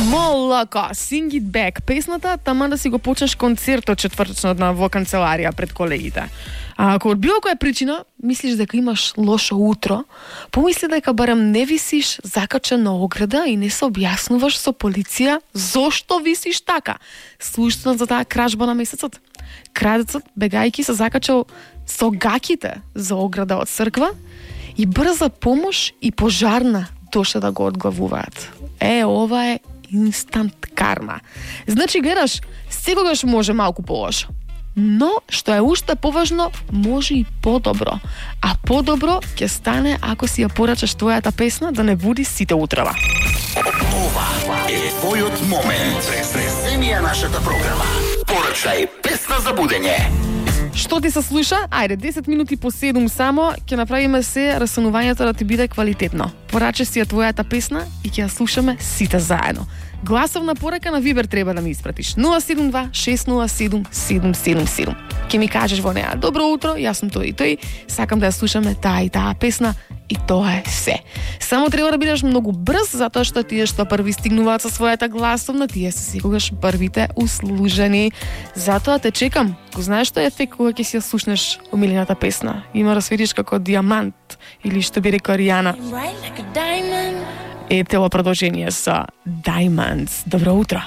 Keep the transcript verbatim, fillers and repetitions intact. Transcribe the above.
Молоко, Sing It Back, песната тама да си го почнеш концертот четврточнот на во канцеларија пред колегите. А ако од било која причина мислиш дека имаш лошо утро, помисли дека барем не висиш закачен на ограда и не се објаснуваш со полиција зошто висиш така. Слушнат за таа кражба на месецот. Крадецот, бегајки, се закачал со гаките за ограда од црква и брза помош и пожарна дошле да го одглавуваат. Е, ова е инстант карма. Значи, гледаш, секогаш може малку полошо. Но, што е уште поважно, може и подобро. А подобро ќе стане ако си ја порачаш твојата песна да не буди сите утрева. Ова е твојот момент. Преземи ја нашата програма. Порачај песна за будење. Што ти се слуша? Ајде, десет минути по седум само, ќе направиме се растанувањето да ти биде квалитетно. Пораче си ја твојата песна и ќе ја слушаме сите заедно. Гласовна порака на Вибер треба да ми испратиш. нула седум два шест нула седум седум седум седум. Ке ми кажеш во неа: добро утро, јас сум тој и тој, сакам да ја слушаме таа и таа песна и тоа е се. Само треба да бидеш многу брз, затоа што тие што први стигнуваат со својата гласовна, тие се секогаш првите услужени. Затоа те чекам. Го знаеш што е ефект кога ќе си ја слушнеш омилената песна? Има да светиш како диамант или што би рекла Ријана. Ете во продолжение со Diamonds. Добро утро.